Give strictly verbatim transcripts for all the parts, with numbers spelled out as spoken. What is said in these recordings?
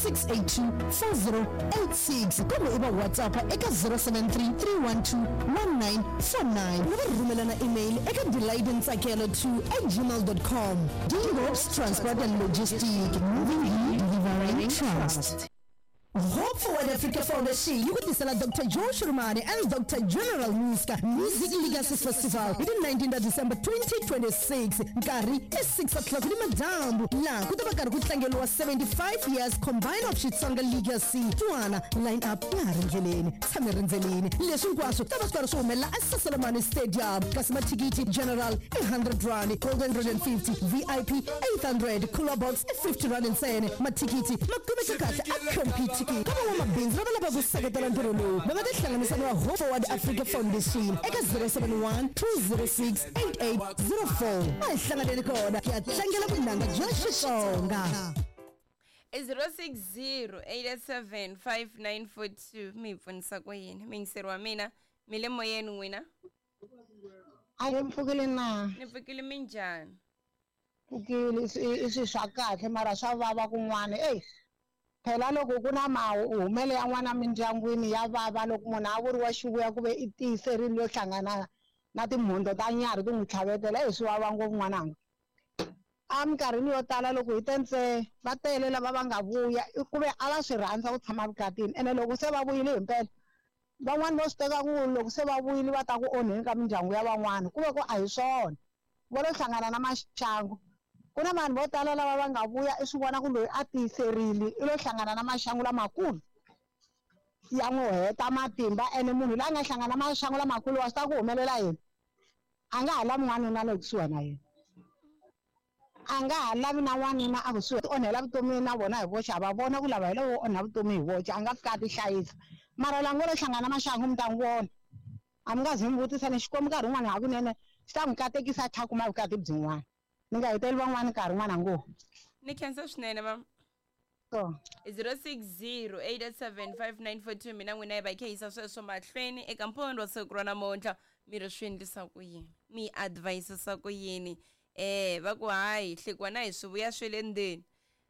six eight two four zero eight six kumbe i va WhatsApp eka zero seven three three one two one nine four nine na va rhumelana email eka delightentsakelo two at gmail dot com. Dingobs Transport and Logistic, moving you, delivering trust. Hope Forward Africa Foundation yi ku tisela Doctor Joe Shirimani and Doctor General Muska Music Legacy Festival hi ti nineteen ta December twenty twenty-six, nkarhi i six o'clock ni madyambu, laha ku ta va karhi ku tlangeriwa seventy-five years combined of Xitsonga Legacy. Twana line up ya ha ri ndleleni, tshame rindzeleni. Leswi hinkwaswo ta va swi karhi swi humelela eSasolomani Stadium, kasi mathikithi general i hundred rand, gold hundred and fifty, V I P eight hundred, cooler box i fifty rand ntsena. Mathikithi ma kumeka kahle a Computicket. Ka van'wamabindzu lava lavaka ku seketela ntirho lowu, va nga tihlanganisa na Hope Forward Africa Foundation eka zero seven one two zero six eight eight zero four. A hi hlanganeni kona hi ya tlangela vunanga bya Xitsonga. I zero six zero eight seven five nine four two. Mi hi pfunisa ku yini? Miyingiseri wa mina, mi le moyeni n'wina? A hi mpfukile na? Ni pfukile, minjhani? Pfukile, i swi, i swi swa kahle mara swa vava kun'wana. Ey, phela loko ku na mahumelo ya n'wana mindyangwini ya vava, loko munhu a vuriwa xivuya ku ve i tiyiserile yo hlangana na timhundzo ta nyarhi ti n'wi tlhavetela, ey, swi vava ngopfu n'wananga. A minkarhini yo tala loko hi te ntse va tele lava va nga vuya, i ku ve a va swi rhandza ku tshama vukatini, ene loko se va vuyile himpela van'wani vo swi teka ku loko se va vuyile va ta ku onheni ka mindyangu ya van'wana, ku ve ku a hi swona, vo lo hlangana na maxangu. Ku na vanhu vo tala lava va nga vuya i swi vona ku loyi a tiyiserile i lo hlangana na maxangu lamakulu ya n'wi heta matimba, ene munhu loyi a nga hlangana na maxangu lamakulu wa swi ta ku humelela yini, a nga ha lavi n'wanuna le kusuhi na yena, a nga ha lavi na n'wanuna a kusuhi, ti onhela vutomi na vona hi voxe, a va vona ku lava hi lowo onha vutomi hi voxe, a nga fika a ti hlayisa. Mara la ngo lo hlangana na maxangu mi ta n'wi vona, a mi nga zi mi vutisa ni Xikwembu nkarhi wun'wani hakunene xi ta n'wi katekisa a tlhela a kuma vukati byin'wana. Ni nga heteli van'wani nkarhi n'wana ngo. Ni khensa swinene mama. So. zero six zero eight seven five nine four two, mina n'wina hi va hi kha yisa sweswo mahlweni eka mphondo wa siku ra namuntlha. Mi ri swi endlisa ku yini? Mi advisisa ku yini? Eh, va ku hayi, hlekiwa na hi swivuya swe le ndzeni.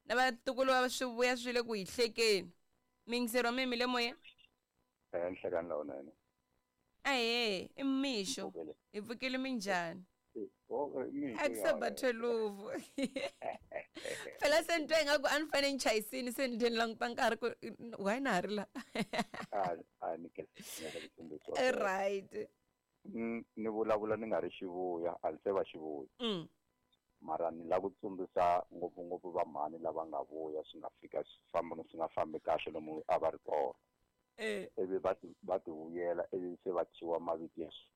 Na vatukulu va swivuya swi le ku hi hlekeni. Miyingiseri wa mina mi le moyeni? Eh, ni hlekani lawunene. Ahee, i mixo. Pfukile. Hi pfukile minjhani? Oh, mixo A ku se ya ba wena. twelve. Phela se ni twa ingaku a ni fanele ni chayisini, se ni ni languta nkarhi ku why na ha ri la? A, a ni khensa ku tsundzuxa. Right. Mm, ni vulavula ni nga ri xivuya, a ni se va xivuya. Mm. Mara ni lava ku tsundzuxa ngopfungopfu va mhani lava nga vuya swi nga fika swi famba swi nga fambi kahle lomu a va ri kona. Eh. Ivi va ti, va ti vuyela, ivi se va thyiwa mavito ya swi.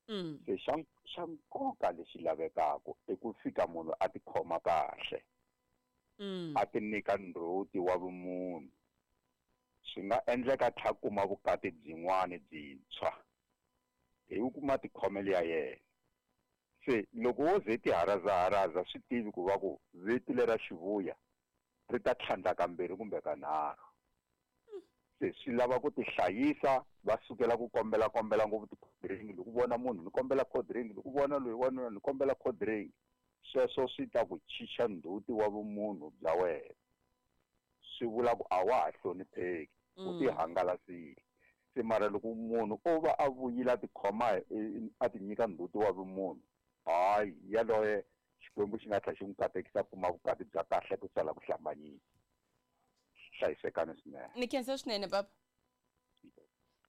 Mm. Se xa, xa nkoka lexi lavekaka i ku fika munhu a tikhoma kahle. Mm. A ti nyika ndzhuti wa vumunhu. Swi nga endleka tlha kuma vukati byin'wana byintshwa hi ku kuma tikhomelo ya yena. Se loko wo ze ti harazaharaza swi tivi ku va ku vito lera xivuya ri ta tlhandla kambirhi kumbe kanharhu. Se swi lava ku tihlayisa, va sukela ku kombela kombela ngopfu ti-cold drink, loko vona munhu ni kombela cold drink, loko vona loyi wanuna ni kombela cold drink. Sweswo swi ta ku chicha ndzhuti wa vumunhu bya wena. Swi vula ku a wa ha hlonipheki, u Mm. tihangalasile. Se mara loko munhu o va a vuyile a tikhoma hi, a ti nyika ndzhuti wa vumunhu, hayi, yaloye Xikwembu xi nga tlhela xi n'wi katekisa kuma vukati bya kahle ku sala ku hlambanyisa. Hlayisekani swinene. Ni khensa swinene papa.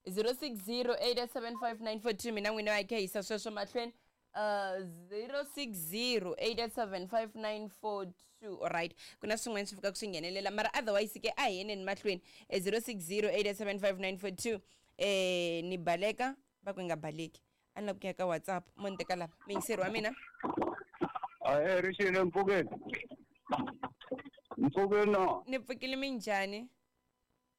zero six zero eight seven five nine four two, mina n'wina hi kha yisa sweswo mahlweni. Uh, zero six zero eight seven five nine four two. All right, ku na swin'wana swi fikaka swi nghenelela, mara otherwise ke a hi yeneni mahlweni. Eh, zero six zero eight seven five nine four two. Eh, ni baleka va ku nga baleki, a ni lava ku ya ka WhatsApp mo ni teka lava miyingiseri wa mina. Ahee, Rixile, mpfukeni. Mpfukeni no. Ni pfukile, minjhani?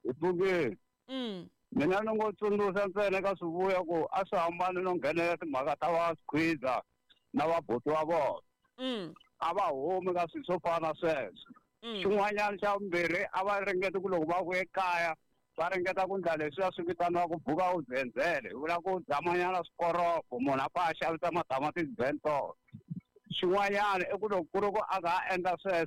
Hi pfukile. Mm. Mina ni ngo tsundzuxa ntsena ka swivuya ku a swi hambani no nghenela timhaka ta va squeezer na vabuti wa vona. Mm. A va humi ka swilo swo fana na sweswo. Mm. Xin'wanyana xa vumbirhi a va ringeti ku loko va vuya ekaya va ringeta ku endla leswiya swi vitaniwaka buka u zenzele, hi vula ku dzamanyana swikoropo, munhu a pfa a xavisa matamatisi bentolo. Xin'wanyana i ku loko ku ri ku a nga ha endla sweswo